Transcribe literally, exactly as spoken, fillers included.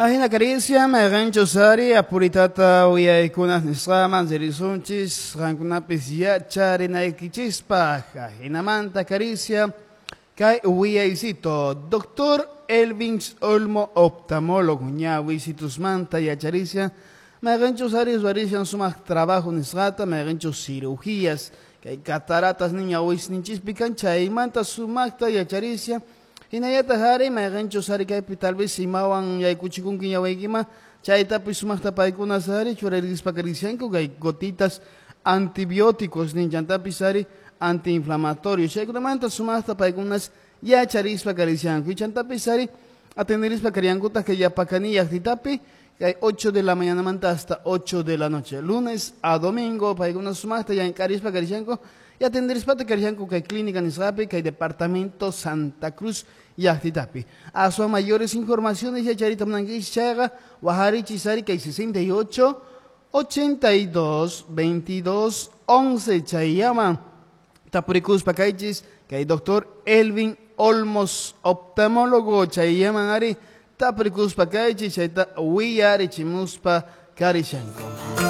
Ahina caricia, mayqanchus ari apuritata uyaykunas nisqaman ririsunchis qankunapis yacharinaykichispaq. Ahinamanta caricia kay wiyaysito Doctor Elvin Olmo, oftalmólogo, ñawisitusmanta yacharicia, mayqanchus ari ruwarishan sumaq trabajo nisqata, mayqanchus cirugías kay cataratas ñawisninchispi kan, chaymanta sumaqta yacharicia. Hinallataq ari mayqanchus ari kaypi tal vez imawan yaykuchikunki ñawiykima, chaytapis sumaqta paykunas ari churarispa karishanku kay gotitas antibióticos ninchantapis ari antiinflamatorios, chaykunamanta sumaqta paykunas yacharispa karishanku. Chantapis ari atenderispa kariankutaq kay Yapacani llaqtitapi kay ocho de la mañanamanta hasta ocho de la noche, lunes a domingo, paykunas sumaqta llank'arispa karishanku y atenderispa karishanku kay clínica nisqapi kay departamento Santa Cruz llaqtitapi. Aswan mayores informaciones yacharita munankichis chayqa wajarichis ari kay sesenta y ocho, ochenta y dos, veintidós, once chayllaman tapurikuspa kaychis kay doctor Elvin Olmos, oftalmólogo, chayllaman ari tapurikuspa kaychis chayta willarichimuspa karishanku.